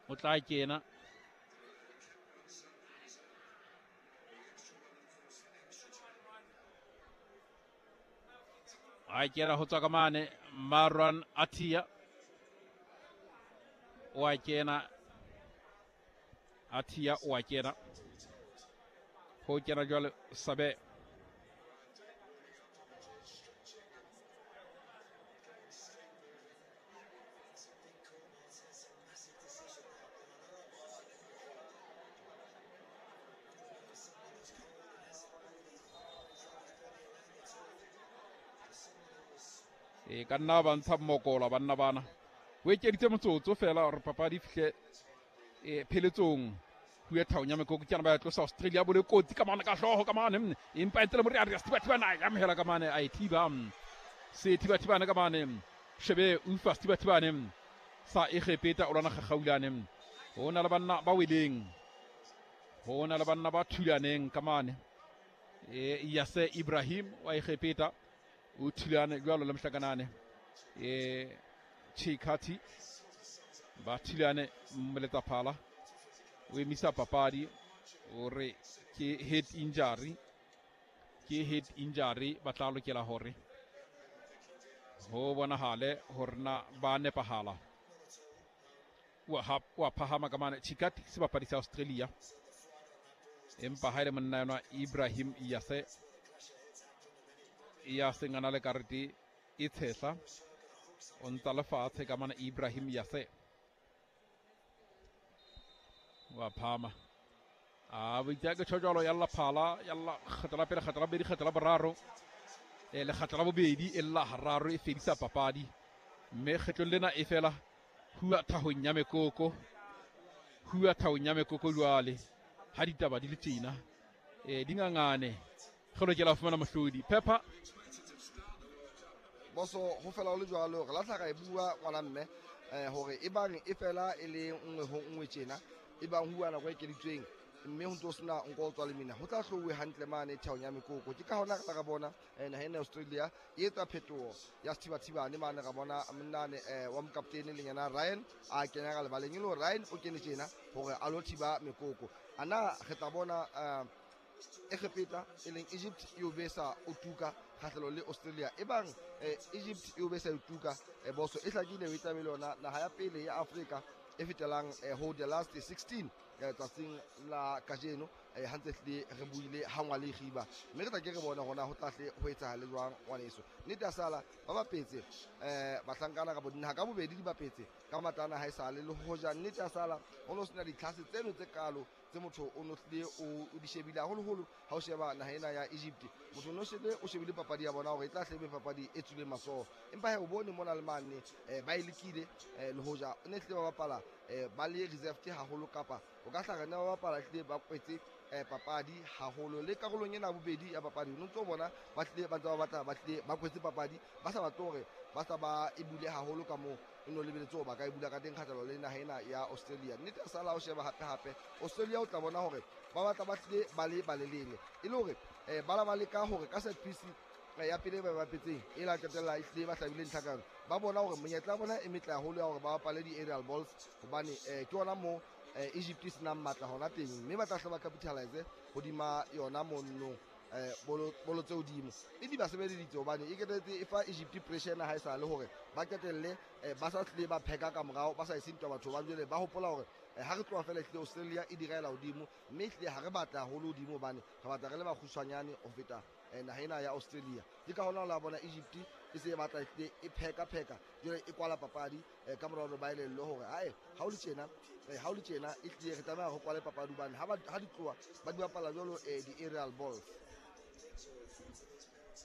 O tla kena. A kena ho tswa ka mane Marwan Atia. O a kena. Atia o a kena. Ho kena jwale Sabe. E ka nna ba ntsha mmokola banna bana. O ekeditse motsotso fela hore papadi e fihle e pheletsong. Hue thaong ya mekoko ke yana ba ya tlosa Australia bole kotsi ka mane ka hlooho ka mane, empa e ntse le Moriaria Sethibathibane a e amohela ka mane, a e thiba. Sethibathibane ka mane, shebe ufa Sethibathibane sa Egepeta o lwana kgakgaulane. Ho na le banna ba weleng, ho na le banna ba thulaneng ka mane. E Yase Ibrahim wa Egepeta o thulane jwalo le mohlakanane e Chikati, ba thulane moletsaphala o emisa papadi o re ke head injury, ke head injury. Ba tla lokela hore ho bonahale hore na ba nepahala. Wa phahama ka mane Chikati sebapadi sa Australia, empa ha ile monna yona Ibrahim Yase ya seng a na le karete e tshehla, o ntsa lefatshe ka mane Ibrahim Yase wa phama. A boitse ke tjho jwalo, ya lla phala, ya lla kgetlo la pele, kgetlo la bobedi, kgetlo la boraro, e lekgatlo la bobedi e lla hararo, e fedisa papadi. Mme kgetlong lena e fela hua thahong ya mekoko, hua thahong ya mekoko jwale ha ditaba di le tjena e di ngangane, re lokela ho fumana mohlodi Pepper. Boso ho fela ho le jwalo, re lahla ra e bua ngwana mme hore e bang e fela e le nngwe ho nngwe tjena, e bang huwa nako e ekeditsweng mme ho ntso sena nko o tswa le mina, ho tla hlouwe hantle mane thaong ya mekoko. Ke ka hona re tla ra bona naha ena ya Australia e etsa phetoho ya sethibathibane mane. Ra bona monnane wa mokaptene leng yena Ryan a kenya ka lebaleng, e le hore Ryan o kene tjena hore a lo thiba mekoko. Ana re tla bona Egepeta e leng Egypt e o besa o tuka kgahlano le Australia. E bang Egypt e o besa o tuka, boso e hlakile e tlabe le yona naha ya pele ya Afrika e fetelang ho the last 16 tsatsing la kajeno. Ha ntse hlile re buile ha ngwa le giba, mme re tla ke re bone hona ho tla hle ho etsahale jwang ngwaneso. Nnete ya sala ba bapetse bahlankana ka bodinaha ka bobedi di bapetse ka matlana ha e sale, le hoja nnete ya sala ho no sena ditlhase tseno tse kalo tse motho o no hlile o di shebile haholoholo. Ha o sheba naha ena ya Egypt, motho o no shebe o shebile papadi ya bona hore e tla hle be papadi e tswileng matsoho, empa he o bone mona le mane ba e lekile, le hoja o ne hlile ba bapala ba le reserved haholo, kapa o ka hla re ne ba bapala hlile ba kwetse papadi haholo. Le karolong ena ya bobedi ya papadi o ntso bona ba hlile ba ntse ba batla, ba hlile ba kwetse papadi, ba sa batle hore ba sa ba e bule haholo ka moo e no lebeletse hore ba ka e bula ka teng kgahlano le naha ena ya Australia. Nnete ya sala o sheba hape hape Australia, o tla bona hore ba batla ba hlile ba le balelele, e le hore ba la ba leka hore ka set piece ya pele ba bapetseng e la qetella e hlile ba hlabile ntlha ka yona. Ba bona hore monyetla ya bona e metle haholo ya hore ba bapale di-aerial balls, hobane ke ona moo Egypt e senang matla hona teng, mme ba tla hle ba capitalize hodima yona mono bolo tse hodimo. E di ba sebeleditse hobane e qetelletse e fa Egypt pressure ena ha e sa le hore ba qetelle ba sa hlile ba pheka ka morao, ba sa ese ntwa batho ba jwale ba hopola hore ha re tloha fela ehlile Australia e direla hodimo, mme ehlile ha re batla haholo hodimo hobane re batla re le bakgutshwanyane ho feta naha ena ya Australia. Ke ka hona o la bona Egypt e se e batla ehlile e pheka pheka jwale e kwala papadi ka mora hore ba elellwe hore hae ha o le tjena, ha o le tjena ehlile re tlameha ho kwale papadi hobane ha di tloha ba di bapala jwalo di-aerial balls.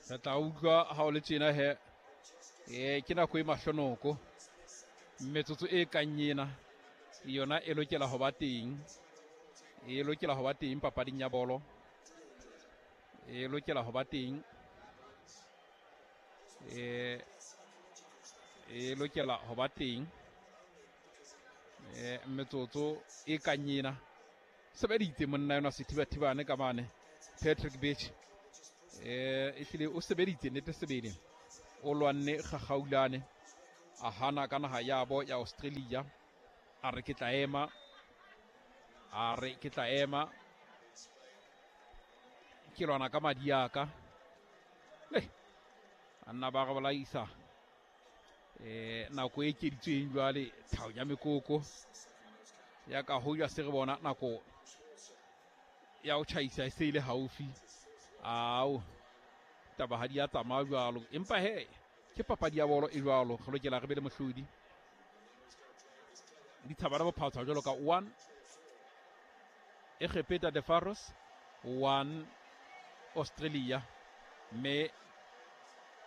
Re tla utlwa ha o le tjena he ke nako e mahlonoko, metsotso e kang ena yona e lokela ho ba teng, e lokela ho ba teng papading ya bolo, e lokela ho ba teng, e lokela ho ba teng metsotso e kang ena. Sebeditse monna yona Sethibathibane ka mane Patrick Beach, ehlile o sebeditse nnete sebele, o lwanne kgakgaulane a hana ka naha yabo ya Australia. A re ke tla ema, a re ke tla ema, ke lwana ka madi a ka. Le a nna ba re bolaisa nako e ekeditsweng jwale thao ya mekoko ya ka hoja se re bona nako ya ho tjhaisa e se ile haufi. Ao taba ha di a tsamaya jwalo, empa he ke papadi ya bolo e jwalo, re lokela re be le mohlodi. Dithabana bophatshwa jwalo ka 1 Egepeta de Faros 1 Australia, mme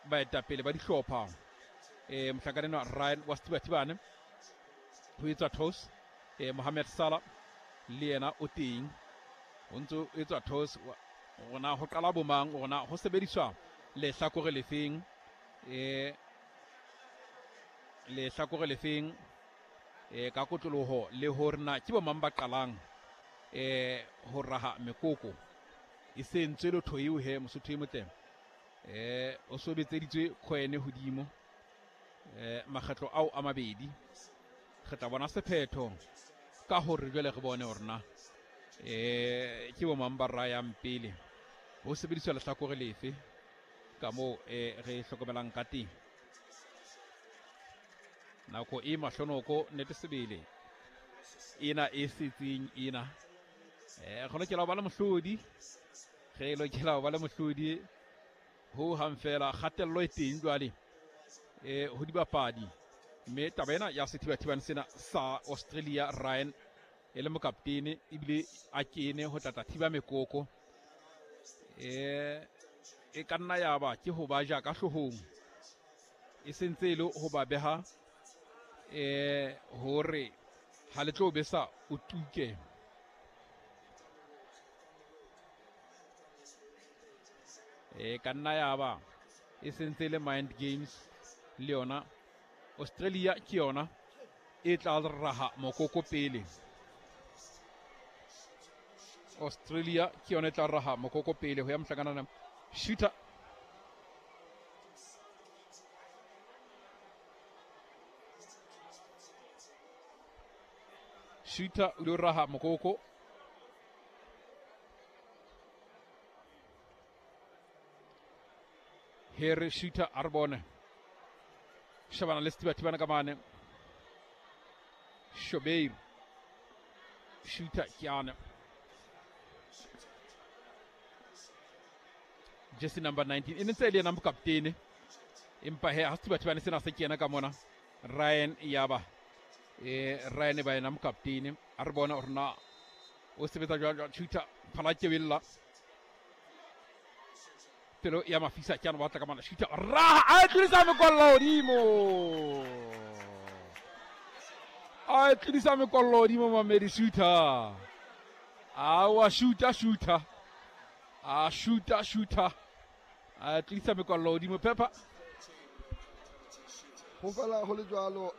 baetapele ba dihlopha mohlankana enwa Ryan wa Sethibathibane ho etswa toss, Mohamed Salah le yena o teng, ho ntso etswa toss rona ho qala bomang, rona ho sebediswa lehlakore lefeng, lehlakore lefeng ka kotloloho, le hore na ke bomang ba qalang ho raha mekoko. E se ntswe lotho eo he Mosotho e motle, o sobetseditswe coin hodimo makgetlo ao a mabedi. Re tla bona sephetho ka hore jwale re bone hore na ke bomang ba rayang pele, ho sebediswa lehlakore lefe ka moo re hlokomelang ka teng. Nako e mahlonoko nnete sebele ena e setseng ena, re lokela ho ba le mohlodi, re lokela ho ba le mohlodi ho hang fela. Kgatello e teng jwale ho dibapadi, mme taba ena ya sethibathibane sena sa Australia, Ryan e le mokaptene ebile a kene ho tlatla thiba mekoko, e ka nna ya ba ke ho ba ja ka hloohong, e sentse e le ho ba beha hore ha le tlo besa o tuke. Ka nna ya ba e sentse le mind games le yona. Australia ke yona e tla raha mokoko pele, Australia ke yona e tla raha mokoko pele ho ya mohlankana shooter. Shooter o lo raha mokoko. Here shooter a re bone shebana le Sethibathibane ka mane. Shobeir shooter ke yane, jersey number 19 e ne ntse e le yena mokaptene, empa he ha Sethibathibane sena se kena ka mona Ryan yaba Ryan ba yena mokaptene. A re bona hore na o sebetsa jwang. Shooter phala kebella pelo ya mafisa ke ana batla ka mana. Shooter raha a tlodisa mekollo hodimo, a tlodisa mekollo hodimo Mamedi shooter. A wa shooter shooter, a shooter shooter, a tlodisa mekollo hodimo Pepper. Ho fela ho le jwalo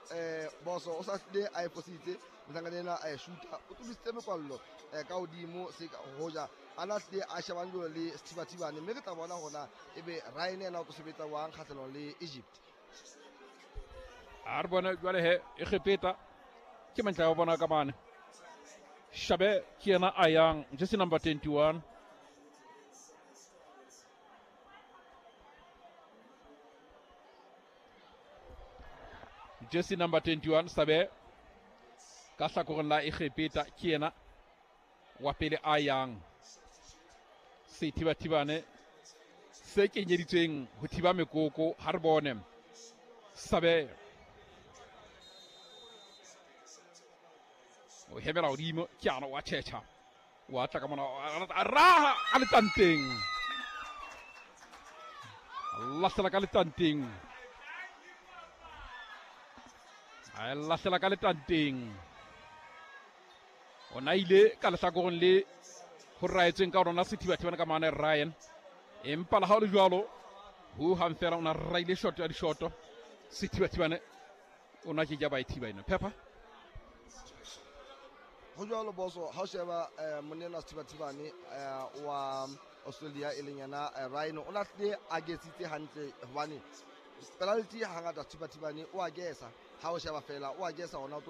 boso o sa hlile a e fositse mohlankana ena a e shoota, o tlodisitse mekwallo ka hodimo se hoja ana hlile a shebane jwalo le Sethibathibane, mme re tla bona hore na ebe Ryan ena o tlo sebetsa wang kgahlanong le Egypt. A re bone jwale he Egepeta ke mantle ya bona ka mane. Shabe ke yena a yang jersey number 21. Jersey number 21 Sabe ka hlakoreng la Egepeta ke yena wa pele a yang. Sethibathibane se kenyeditsweng ho thiba mekoko, ha re bone Sabe o hemela hodimo ke ana wa tjhetjha wa tla ka mona a raha ka letanteng, lahlela ka letanteng, a lahlela ka letanteng. O na ile ka lehlakoreng le ho raetsweng ka rona Sethibathibane ka mane Ryan, empa le ha o le jwalo ho hang fela o na raile shot ya dishoto. Sethibathibane o na ke ja ba e thiba ena Pepper. Ho jwalo boso ha o sheba monna Sethibathibane wa Australia e leng yena Ryan, o na hlile a gesitse hantle hobane penalty hangata Sethibathibane o a gesa, ha o sheba fela o a gesa ona.